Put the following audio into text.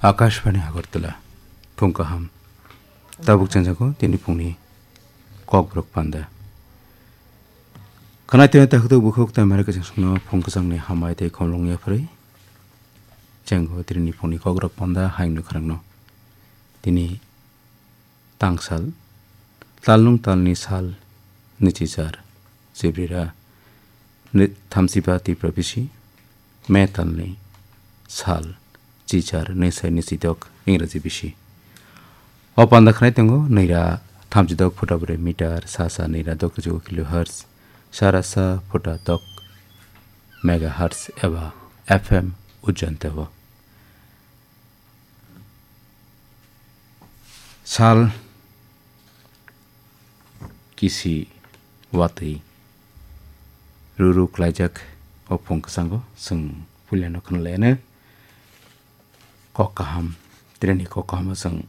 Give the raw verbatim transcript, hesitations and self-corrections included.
Akashbani Agartala, phung kaham. Tabuk chengjago tini phungni kokborok panda. Khwnai tini takhuk bukhuk tamara kwchang songno phung kwchangni hambai tei khomlong yapharwi. Chenggo tini phungni kokborok panda hayungni khorangno. Tini tangsal, talnung talni sal, nwichichar, Jibrira, nwi-, thamchiba Tipra bisi, me talni sal, chichar, nwisai nwichidok, Ingraji bisi. O panda khwnai tongo, nwira thamchidok phuta bwrwi meter, sa sa nwira dok kilohertz, sara sa phuta dok megahertz eba F M ujanteo. Sal kisi watwi ruru klaijak o phung kwchango chwng puilano khwnalaiyano kok kaham, treni kok kahamo chwng